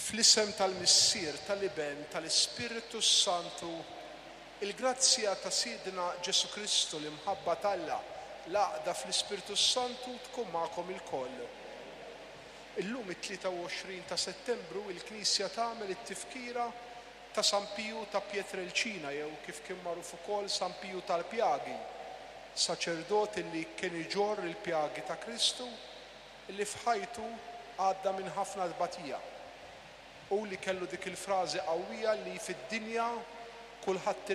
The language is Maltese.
Fl-isem tal-Missier, tal-Iben, tal-Ispirtu s-Santu, il-grazzja ta' Sidna Ġesù Kristu, l-imħabba t'Alla, l-għaqda fl-Ispirtu s-Santu tkun magħkom ilkoll. Illum it-23 ta' Settembru il-Knisja tagħmel it-tifkira ta' San Piju ta' Pietrelcina jew kif kien magħruf ukoll San Piju tal-Pjagi, saċerdot illi kien iġorr il-pjagi ta' Kristu illi f'ħajtu għadda minn ħafna tbatija. Hu li kellu dik il-frażi qawwija li fid-dinja kulħadd irid.